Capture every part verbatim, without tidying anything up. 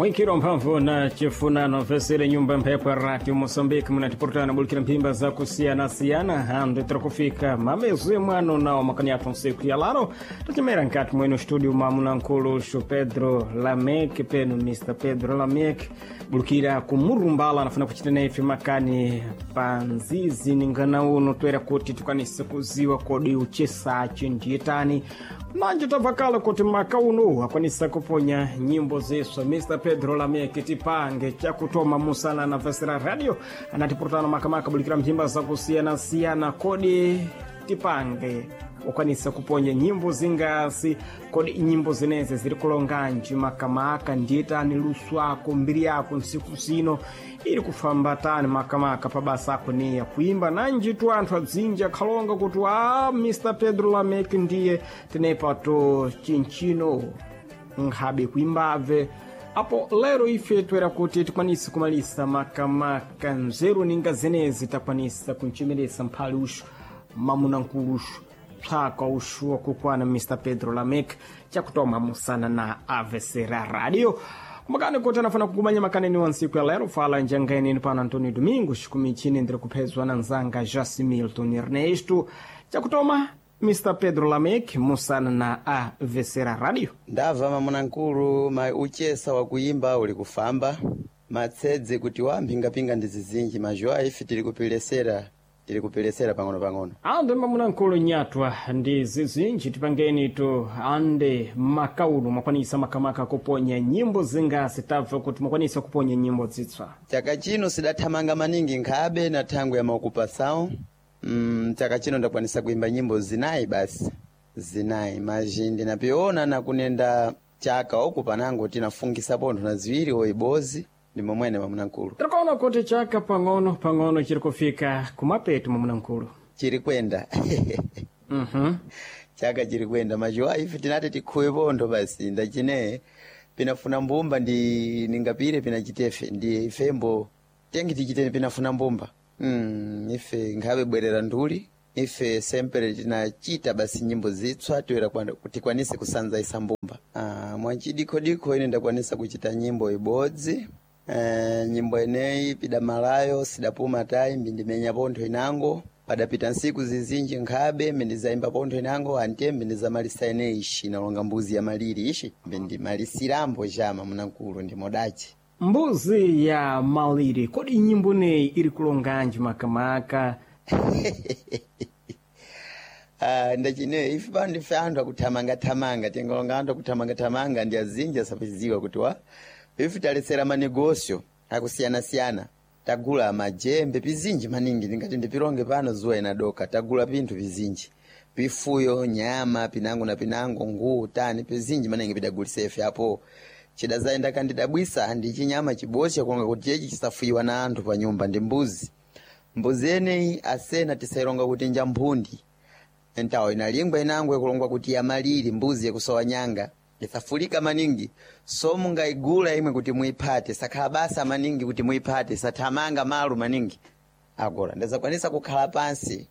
Mwikiro mphamvu na chifunano vesele nyumba mphepo ya radio Moçambique munatiportana bulikira mphimba zakusiyana-siyana handu tirakufika mamezwe mwano nawo makani athu nsiku ya laro tacimera nkati mwenu studio mamunankulu Pedro Lamek penu Mr Pedro Lamek bulukira kumurumbala anafuna kuchita naife makani panzizi ningana uno toera kuti tikwanise kuziwa kodi uchesachi ndiyetani manje tabva kuti maka uno akwanisa kuponya nyimbo ziswa Mr Pedro Lamek tipange chakutoma musana na vesera radio anatipurutana makamaka bulikira mphimba zakusiyana-siyana kodi tipange ukwanisa kuponya nyimbo zingasi kodi nyimbo zeneze ziri kulonganji makamaka ndiyetani luso ako mbiri yako nsiku zino iri kufamba tani makamaka pabasa ako niya kuimba nanjitu anthu adzinji akhalonga kuti a Mr Pedro Lamek ndiye tenepato chinchino nkhabe kuimbabve apo lero ife toera kuti tikwanise kumalisa makamaka nzeru ninga zenezi takwanisa kunchemeresa mphali uxu mamunankulu uxu psaka uxu wakukwana Mr Pedro Lamek chakutoma musana na A V C Radio kumakani kuti anafuna kukumanya makaneni wa nsiku ya lero fala njangaeneni pano Antonio Domingos kumichini ndiri kuphezwa na nzanga Jasi Milton Ernesto chakutoma Mr Pedro Lamek musana na A V C Radio. Ndabva mamunankulu ma uchesa wakuyimba uli kufamba matsedze kuti wamphingapinga ndi zizinji mazhowa ife tili kupilesera tili kupilesera pang'ono-pang'ono. Ande mamunankulu nyatwa ndi zizinji tipangeni tu ande makauno mwakwanisa makamaka kuponya nyimbo zingasi tabva kuti mwakwanisa kuponya nyimbo zitswa. Chaka chino sidathamanga maningi nkhabe na thangwe ya maukupasawo. mm, chaka chino ndakwanisa kuimba nyimbo zinayi basi zinayi mazhi ndinapiona na kunenda chaka oku panango tinafungisa pontho na ziwiri oibozi ndi momwene mamunankulu. Tikuona kuti chaka pang'ono pang'ono chiri kufika kumapeto mamunankulu. Chiri kwenda. Mhm. Chaka chiri kwenda mazhuwa ife tinati tikhuwe pontho basi ndachine pinafuna mbumba ndi ningapire pinachitefe ndi ifembo tengi tichiteni pinafuna mbumba. mm, ife nkhabe bwerera nduli ife sempre tinachita basi nyimbo zitswa toera tikwanise kusanza isa mbumba. ah, mwachidikodiko ine ndakwanisa kuchita nyimbo ibodzi. Eh, nyimbo eneyi pidamalayo sidapuma tayi mbindimenya pontho inango padapita nsiku zizinji nkhabe mbindizayimba pontho inango ante mbindizamalisa eneyi ishi inalonga mbuzi ya maliri ishi mbindimalisirambo chama munankulu ndimodachi. Mbuzi ya maliri kodi nyimbo neyi iri kulonganji makamaka? Ah, ndachine ife pano ndife anthu akuthamangathamanga tingolonga anthu akuthamangathamanga ndi azinji asapachiziwa kuti wa ife talesera manegosio akusiyana-siyana tagula majembe pizinji maningi ndingati ndipilonge pano zuwa inadoka tagula pinthu pizinji pifuyo nyama pinango na pinango nguwu tani pizinji maningi pidagulisa ife apo chidazayenda kandidabwisa ndi chinyama chibosha kulonga kuti chechi chisafuyiwa na anthu pa nyumba ndi mbuzi. Mbuzi eneyi asena tisailonga kuti nja mphundi ntawo inalingwa inangwe kulongwa kuti yamaliri mbuzi yakusowa nyanga isafulika maningi so mungaigula imwe kuti muiphate sakhala basa maningi kuti muiphate sathamanga malu maningi agora ndazakwanisa kukhala pansi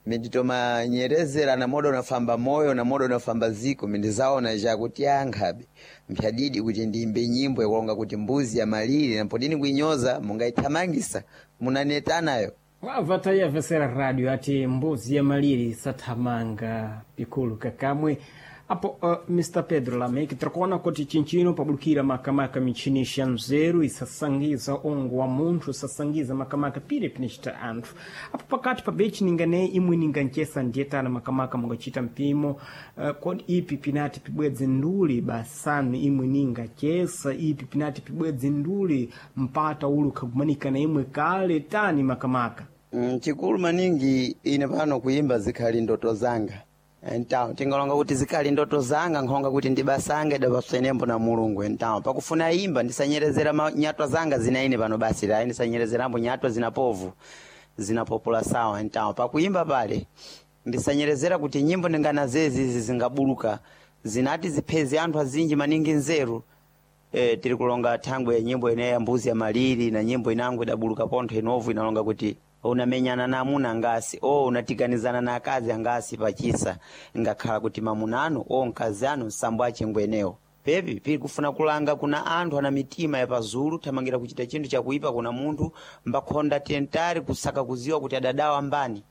minditomanyerezera na modo unafamba moyo na modo unafamba ziko mindizaona chakuti ankhabe mphyadidi kuti ndiyimbe nyimbo yakulonga kuti mbuzi ya maliri nampodini kuinyoza mungaithamangisa munanetanayo. Wabva tayavesera radio ati mbuzi ya maliri sathamanga pikulu kakamwe apo uh, Mr Pedro Lamek tikuona kuti chinchino pabulukira makamaka michini ya nzeru isasangiza ongo wa munthu isasangiza makamaka pire pinachita anthu apo pakati pa bechi ninganeyi imwe ninganchesa ndiyetana makamaka mungachita mpimo uh, kodi ipi pinati pibwedze nduli basanu imwe ningachesa ipi pinati pibwedze nduli mpata ulu khagumanika na imwe kale tani makamaka? Mm, chikulu maningi ine pano kuimba zikhali ndoto zanga entawo tingalonga kuti zikhali ndoto zanga nkhonga kuti ndibasanga idapaswenembo na mulungu entawo pakufuna imba ndisanyerezera ma- nyatwa zanga zina ine pano basi layi ndisanyerezerambo nyatwa zinapovu zinapopola sawa entawo pakuimba pale ndisanyerezera kuti nyimbo ndingana zezi izi zingabuluka zinati zipheze anthu azinji maningi nzeru. E, tiri kulonga thangwe ya nyimbo ineyi ya mbuzi ya maliri na nyimbo inango idabuluka pontho inovu inalonga kuti unamenyana na amuna angasi o unatiganizana na akazi angasi pachisa ngakhala kuti mamuna anu o mkazi anu nsambo achingwenewo. Pepi pili kufuna kulanga kuna anthu ana mitima ya pazulu thamangira kuchita chinthu chakuipa kuna munthu mbakhonda tentari kusaka kuziwa kuti adadawa mbani.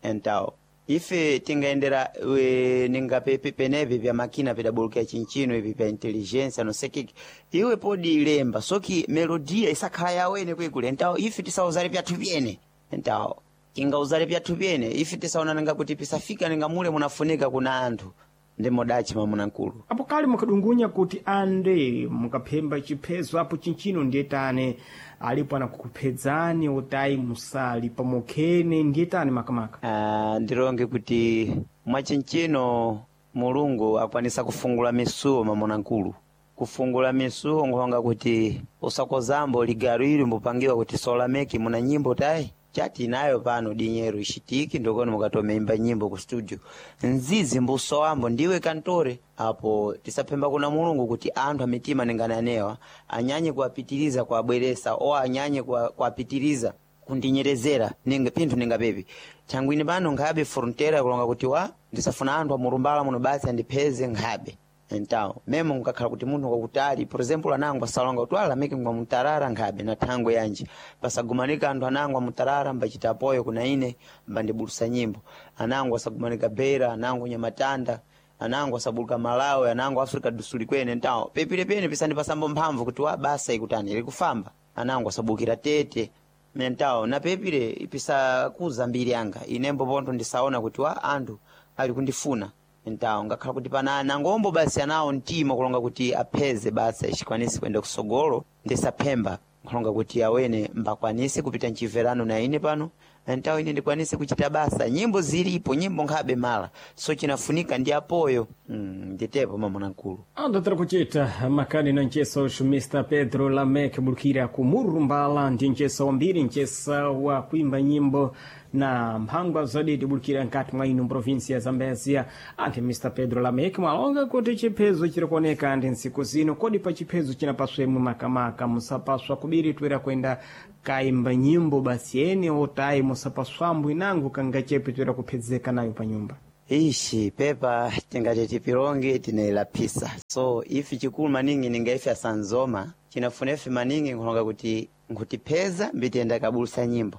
Entawo ife tingayendera we, ninga pepe penepe pya makina pedabulukira chinchino ipi pya intelligence anosekeki iwe podi ilemba soki melodia isakhala yawene kwekule. Entawo ife tisauzale pyathu pyene. Entawo tingauzale pyathu pyene ife tisaonana kuti pisafika ninga mule munafunika kuna anthu ndi modachi mamuna nkulu. Apo kale mukadungunya kuti ande mukaphemba chiphezo apo chinchino ndiye tane alipo anakukuphedzani otayi musali pamokhene ndiye tani makamaka. Ah, ndilonge kuti mwachinchino Mulungu akwanisa kufungula misuwo mamuna nkulu. Kufungula misuwo nkhonga kuti usakozambo ligalo ili mbupangiwa kuti solameki muna nyimbo tayi chati inayo pano dinyero ishitiki ndokoni mukatomeimba nyimbo ku studio nzizi mbuso wambo ndiwe kantore. Apo tisaphemba kuna Mulungu kuti anthu amitima ningananewa anyanye kuwapitiriza kuwabweresa o anyanye kuwa- kuwapitiriza kundinyerezera ninga pinthu ningapepi thangwini pano nkhabe frontera kulonga kuti wa ndisafuna anthu amurumbala muno basi andipheze nkhabe. Entawo memo nkakhala kuti munthu kwakutali, por exemplo anango asalonga kuti alamike ngwa mutarara nkhabe na thangwe yanji pasagumanika anthu anango amutarara mbachita apoyo kuna ine mbandibulusa nyimbo anango asagumanika Beira, anango Nyamatanda, anango asabuluka Malawi, anango Africa do Sul kwene. Entawo pepile pene pisandipasambo mphamvu kuti wa basa ikutani ilikufamba anango asabukira Tete mentawo na pepile ipisakuza mbiri yanga inembo pontho ndisaona kuti wa anthu ali kundifuna. Entawo ngakhala kuti pana nangombo basi anawo mtima kulonga kuti apheze basi achikwanisi kuyenda kusogolo ndisaphemba kulonga kuti awene mbakwanise kupita mchimverano na ine pano. Entawo ine ndikwanise kuchita basa nyimbo zilipo nyimbo nkhabe mala so chinafunika ndi apoyo. Mm, nditepo mamuna nkulu. Andatira kuchita makani na ncheso uxu Mister Pedro Lamek bulukira ku Murumbala ndi nchesa wambiri nchesa wa kuimba nyimbo na mphangwa zadidi bulukira nkati mwa ino provinsia ya Zambezia. Anthu Mister Pedro Lamek mwalonga kuti chiphezo chirikuoneka ndi ntsiku zino kodi pa chiphezo chinapaswemwe makamaka musapaswa kubiri twera kwenda kaimba nyimbo basi ene otayi musapaswambo inango kangachepe twera kuphedzeka nayo pa nyumba. Ishi pepa tingati tipilonge tinailaphisa so ifi chikulu maningi ninga ife asanzoma chinafuna ife maningi nkhulonga kuti nkutipheza mbitenda kabulusa nyimbo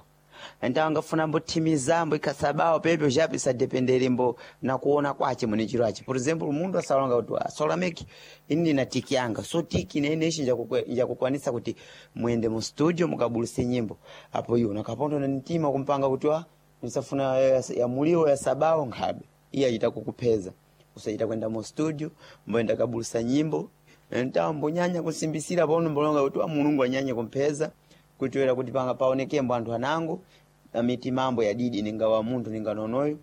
entawo ngafuna mbothimizambo ikhasabawo pepe chapi sadependere mbo nakuona kwace mwene chiro achi. Por exemplo munthu asalonga kuti asolameki ini ndina tiki yanga so tiki nene ishi njakukwanisa kuti muyende mu studio mukabuluse nyimbo apo iwo nakapondo na mtima kumpanga kuti wa ndisafuna ya, ya muliwo ya sabawo nkhabe iye achita kukupheza usachita kwenda mu studio mboenda kabulusa nyimbo ntawo mbonyanya kusimbisira pono mbolonga kuti wa Mulungu anyanye kumpheza kutiwera kuti panga paonekembo anthu anango amiti mambo ya didi ninga wa munthu ninga nonoyo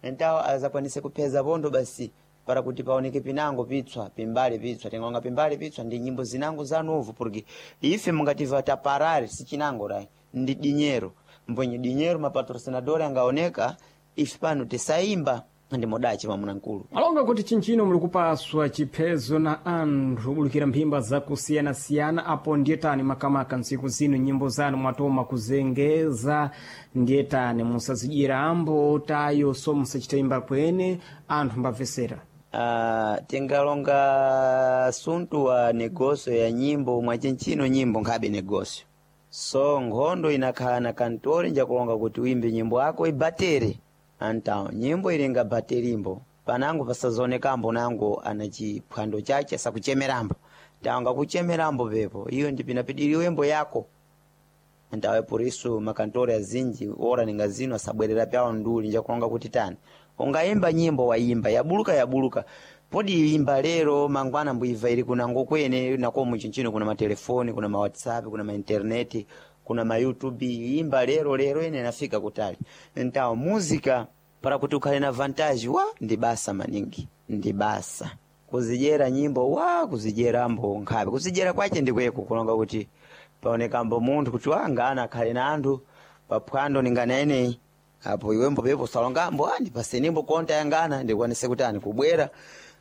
ntawo azakwanise kupheza pondo basi para kuti paoneke pinango pitswa pimbale pitswa tingonga pimbale pitswa ndi nyimbo zinango zanovu porque ife mungativa taparare sichinango rai ndi dinyero mbwenye dinyero mapatrocinador angaoneka ife pano tisaimba ndi modachi mamuna nkulu. Alonga kuti chinchino muli kupaswa chiphezo na anthu bulukira mphimba zakusiyanasiyana apo ndiye tani makamaka ntsiku zino nyimbo zanu mwatoma kuzengeza ndiye tani musazidyera ambo tayo so musachita kwene anthu mbamvesera. Ah, tingalonga suntu wa negosio ya nyimbo mwachinchino nyimbo nkhabe negosio so nkhondo inakhala na kantori njakulonga kuti uimbe nyimbo yako ibatere antawo nyimbo ilinga baterimbo panango pasazonekambo nango ana chiphwando chache sakuchemerambo tawo ngakuchemerambo pepo iyo ndipinapidiriwe mbo yako ntawe por isso makantori azinji ora ninga zino asabwerera pyawo nduli njakulonga kuti tani ungaimba nyimbo waimba yabuluka yabuluka podi imba lero mangwana mbuiva ili kunango kwene nako muchinchino kuna matelefoni kuna ma WhatsApp kuna ma internet kuna ma YouTube imba lero lero ine nafika kutali ntawo muzika para kuti ukhale na vantage wa ndi basa maningi ndi basa kuzidyera nyimbo wa kuzidyera-mbo nkhabe kuzidyera kwache ndikweko kulonga kuti paonekambo munthu kuti wangana akhale na anthu paphwando ningana apo iwembo pepo salongambo ah ndipasenimbo konta yangana ndikwanise kuti ani kubwera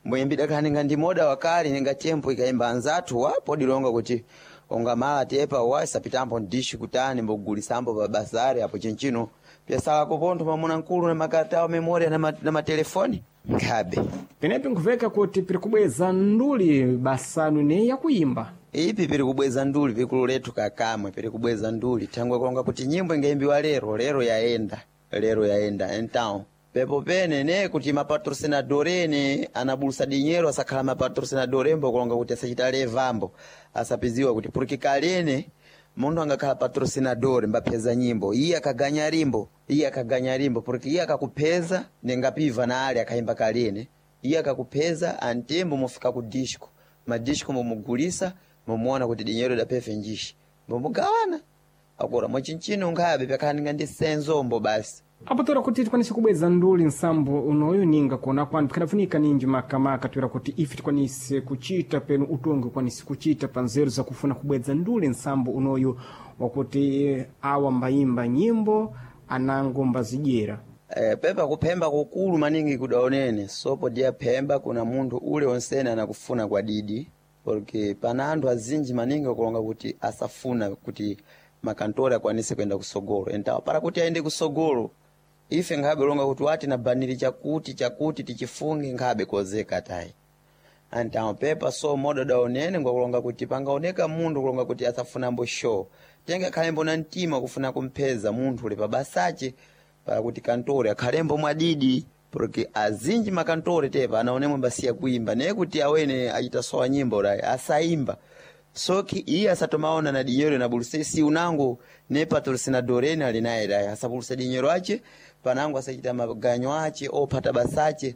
mboyimbida khala ninga ndi moda wakale ninga tempo ikaimba anzathu wa podilonga kuti ongamala tepa wa isapitambo ndishi kutani mbogulisambo pa bazari apo chinchino pyasalako pontho mamuna mkulu na makaratawo memoria na, ma, na matelefoni. Nkhabe Penepi nkuveka kuti piri kubweza nduli basanu ne yakuyimba. Ipi piri kubweza nduli pikulu lethu kakamwe piri kubweza nduli thangwe kulonga kuti nyimbo ingayimbiwa lero lero yaenda lero yaenda então pepo pene ne kuti mapatrocinador ene anabulusa dinheiro asakhala mapatrocinador embo kulonga kuti asachita levambo asapiziwa kuti porque kalene munthu angakhala patrocinador mbapheza nyimbo iye akaganya limbo iye akaganya limbo porque iye akakupheza ningapiva na ali akayimba kalene iye akakupheza antembo mufika ku disco madisco mumugulisa mumuona kuti dinheiro idaphefe njishi mumugawana akora mwachinchino nkhabe pyakhaninga ndi senzombo basi. Apo toera kuti tikwanise kubweza nduli nsambo unoyu ninga kuona kwanu pikhadafunika ninji makamaka toera kuti ife tikwanise kuchita penu utongi ukwanise kuchita pa nzeru zakufuna kubweza nduli nsambo unoyu wakuti awa mbayimba nyimbo anango mbazidyera. Eh, pepa kuphemba kukulu maningi kudaonene sopo diya phemba kuna munthu ule onsene anakufuna kwa didi porque pana anthu azinji maningi akulonga kuti asafuna kuti makantori akwanise kuyenda kusogolo entawo para kuti ayende kusogolo ife nkhabe longa kuti wati na baniri chakuti chakuti tichifunge nkhabe kozeka tayi antawo pepa so moda daonene ngwakulonga kuti pangaoneka munthu kulonga kuti asafunambo show tenge akhalembo na mtima kufuna kumpheza munthu ule pabasache para kuti kantore akhalembo mwadidi porque azinji makantore tepa anaonemwe mbasiya kuimba naye kuti awene achita sowa nyimbo rayi asaimba soki iye asatomaona na dinyero na buluse si unango ne patrocinador ene ali naye rayi asabulusa dinyero ache panango asachita maganyo ache ophata basache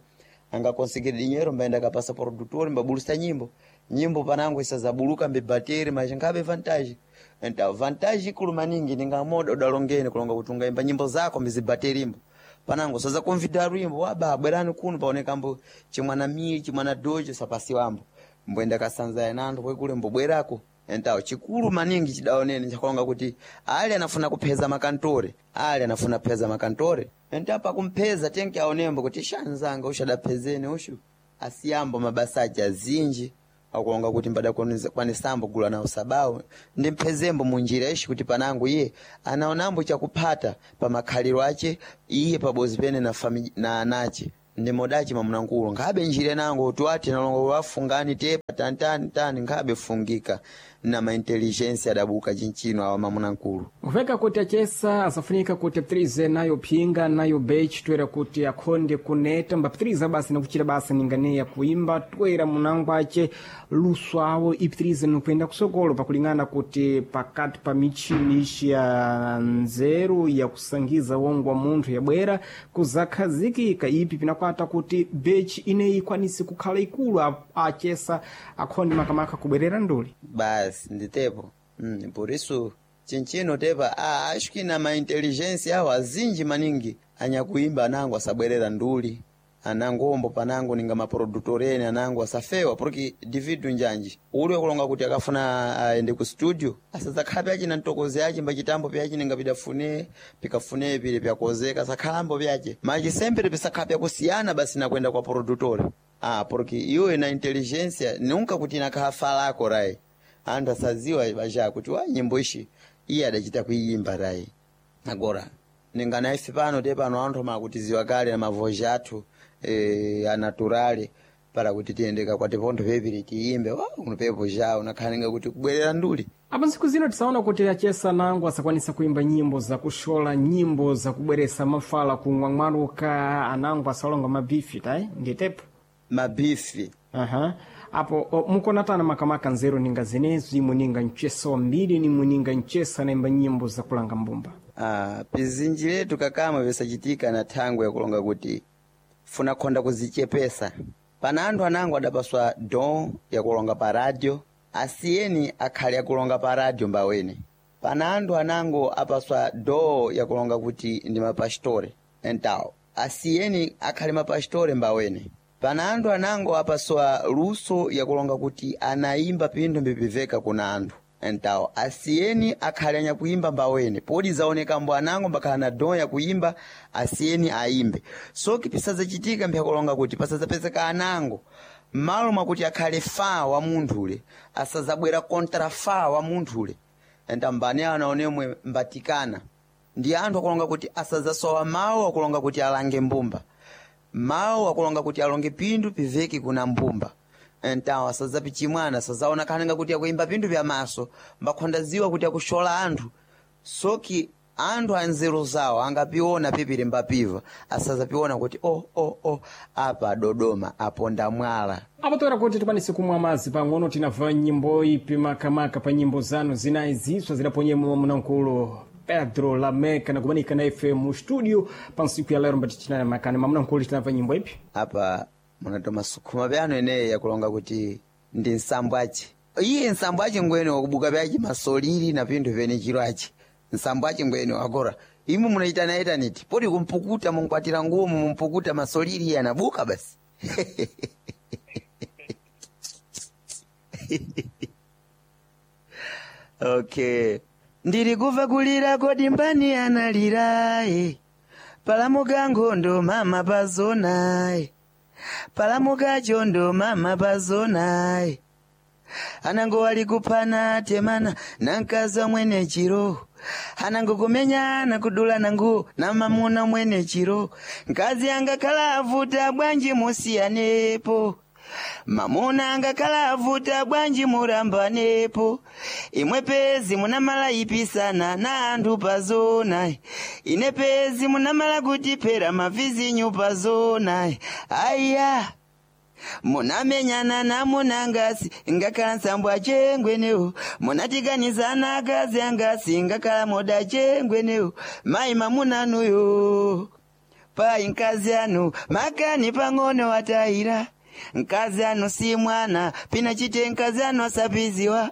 angakonsekere dinyero mbaenda kapasa produtor mbabulusa nyimbo nyimbo panango isazabuluka mbebateri machingabe vantage enta vantage ikulu maningi ningamoda udalongene kulonga kuti ungaimba nyimbo zako mbizibaterimbo panango saza kumvida lwimbo waba bwerani kuno paonekambo chimwana mili chimwana dojo sapasiwambo mbwenda kasanza yananthu kwekule mbobwerako entawo chikulu maningi chidaonene chakulonga kuti ali anafuna kupheza makantore ali anafuna kupheza makantore entapa kumpheza tenke aonembo kuti shanzanga ushadaphezene ushu asiyambo mabasa ache azinji akulonga kuti mbadakwanisambo gula nawo sabawo ndimphezembo munjira ishi kuti panango iye anaonambo chakuphata pa makhaliro ache iye pabozi pene na, fami, na anache ndimodachi mamunankulo nkhabe njira nango twati nalongo wafungani tepa tantani tani nkhabe fungika na maintelligence adabuka chinchino awa mamunankulo. Kuveka kuti achesa asafunika kuti apitirize nayo phinga nayo bechi toera kuti akhonde kuneta mbapitiriza basi nakuchita basa ninganeya kuimba toera munango ache luso awo ipitirize nokuyenda kusokolo pakulingana kuti pakati pa michini ishi ya nzeru yakusangiza wongo wa munthu yabwera kuzakhazikika ipi pinakwata kuti bechi ineyi ikwanise kukhala ikulu a- achesa akhonde makamaka kubwerera nduli. Basi nditepo mm, por isso chinchino tepa ah, acho que na maintelligência awo azinji maningi anyakuimba anango asabwerera nduli anangombo panango ninga maprodutorene anango asafewa porque dividu njanji uli wakulonga kuti akafuna aende ku studio asadzakhala pyache na mtokozi ache mbachitambo pyache ninga pidafune pikafune pile pyakozeka asakhalambo pyache machi sempre pisakhala pyakusiyana basi nakwenda kwa produtore ah, porque iwe na intelligência nunca kuti inakhala falako rai anthu asaziwa baja kuti wa nyimbo ishi iye adachita kuiyimba rai agora ningana ife pano te pano anthu makutiziwa kale na mavoji athu e, anaturale para kuti tiyende kwati pontho pepiri tiyimbe wa uno pepo jawo nakhaninga kuti kubwerera nduli. Apo ntsiku zino tisaona kuti achesa nango asakwanisa kuimba nyimbo zakushola nyimbo zakubweresa mafala kung'wang'waruka anango asalonga mabifi tayi nditepo mabifi Aha. Apo o, mukonatana makamaka nzeru ninga zenezi imwe ninga mchesa wambiri nimwe ninga mchesa naimba nyimbo zakulanga mbumba. Ah, pizinji letu kakamwe visachitika na thangwe yakulonga kuti funa khonda kuzichepesa pana anthu anango adapaswa don yakulonga pa radio asiyeni akhale akulonga pa radio mbawene pana anthu anango apaswa do yakulonga kuti ndi mapastore entawo asiyeni akhale mapastore mbawene pana anthu anango apaswa luso yakulonga kuti anayimba pinthu mbipiveka kuna anthu entawo asiyeni akhale anyakuimba mbawene podi zaonekambo anango mbakhala na don yakuimba asiyeni ayimbe soki pisazachitika mpyakulonga kuti pasazapezeka anango m'malo mwakuti akhale fa wa munthule asazabwera kontra fa wa munthule enta mbani anaonemwe mbatikana ndi anthu akulonga kuti asazasowa mawu akulonga kuti alange mbumba. Mawu akulonga kuti alonge pindu piveke kuna mbumba. Ntawo asazapichimwana asazaonekana kuti akuimba pindu vya maso, mbakhondaziwa kuti akushola anthu. Soki anthu anzeru zawo angapiona pipiri mbapiva, asazapiona kuti o oh, o oh, o oh, apa Dodoma aponda mwala. Apo toera kuti tikwanise kumwa madzi pang'ono, tinabva nyimbo ipi makamaka pa nyimbo zanu zinayi ziswa zidaponyemo mnamkulu Pedro Lameca nakumanika na ife mu studio pa nsiku ya lero mbati tinali makani mamnamkulu, tinabva nyimbo ipi? Apa munatoma sukhuma pyano ineyi yakulonga kuti ndi nsambo ace. Iye nsambo ace ngwene wakubuka pyace masolili na pinthu pene chiro ace. Nsambo ace ngwene wakora. Imwe munaitanaitaniti poti kumpukuta munkwatira nguwo mumpukuta masolili iye anabuka basi. Okay. Ndiri kuva kulira kodi mbani analira eh. Palamuka nkhondo mama pazona eh. Palamuka chondo mama pazona eh. Anango wali kuphana temana na mkazi mwene chiro, anango kumenya na kudula nangu na mamuna mwene chiro. Mkazi angakhala avuta bwanji musiyanepo, mamuna angakhala avuta bwanji murambanepo. Imwe pezi munamala ipisana na anthu pazona, ine pezi munamala kutiphera mavizinyu pazona. Aya munamenyana namunangasi ngakhala nsambo achengwenewo, munatikanizana akazi angasi ngakhala moda achengwenewo. Mayi mamunanuyo payi mkazi anu makani pang'ono watayira. Mkazi anu si mwana pina chite, mkazi anu asapiziwa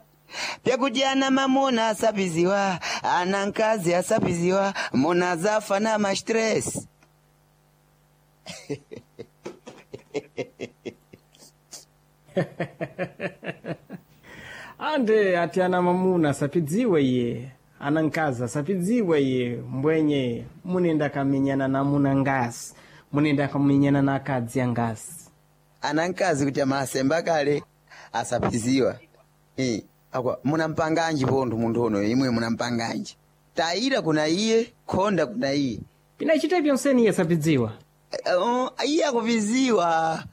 pyakuti ana mamuna asapiziwa, ana mkazi asapiziwa, muna zafa na ma stress. Ande ati ana mamuna asapidziwe iye, ana mkazi asapidziwe iye, mbwenye munenda kamenyana na muna ngasi, munenda kamenyana na akadzi angasi. Ana mkazi kuti amasemba kale asapiziwa. Eh, akwa munampanganji pontho munthu uno imwe munampanganji tayira kuna iye khonda kuna iye. Pinachita pyonseni iye asapidziwa. Eh, oh, iye akupiziwa.